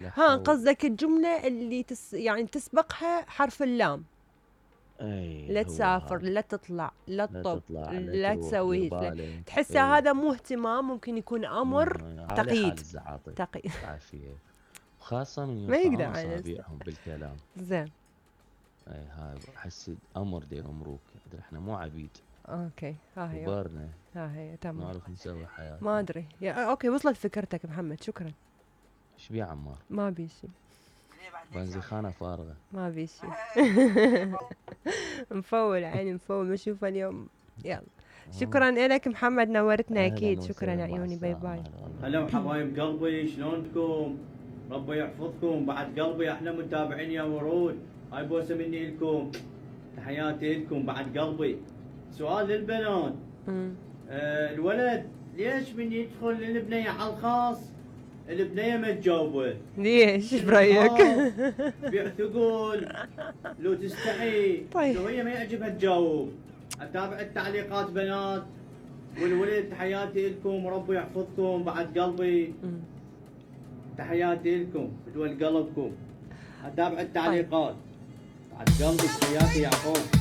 لا ها حول. قصدك الجملة اللي يعني تسبقها حرف اللام. اي لا هو تسافر، هذا. لا تطلع، لا لا تطب، تطلع، لا لا تروح، دير تسوي، لا بالك. تحسه اي هذا مو اهتمام، ممكن يكون مو امر على حال تقييد. الزعاطي. تقييد. عافية. وخاصة من ما يقدر يرفعون على نفسه. اصابعهم بالكلام. زين. اي هاي احس امر دي امروك، احنا مو عبيد. اوكي ها هي. كبرنا ها هي تمام. نعرف نسوي حياتنا. ما ادري اوكي وصلت فكرتك محمد، شكرا. ايش بيه عمار؟ ما بي شي. بنزخانة فارغة. ما بي شي. مفول عيني مفول، بشوفه اليوم. يلا شكرا لك محمد، نورتنا اكيد. شكرا عيوني، باي باي. هلا حبايب قلبي، شلونكم؟ ربي يحفظكم. بعد قلبي احلى متابعين يا ورود، هاي بوسه مني لكم، تحياتي لكم بعد قلبي. سؤال للبنات. الولد ليش من يدخل للبنية على الخاص البنية ما تجاوبه؟ ليش؟ ايش برايك؟ بيعتقول لو تستحي، طيب. لو هي ما يعجبها تجاوب. اتابع التعليقات بنات. والولد تحياتي لكم، وربي يحفظكم بعد قلبي. تحياتي لكم بدول قلبكم. اتابع التعليقات. بعد قلبي تحياتي يعقوب.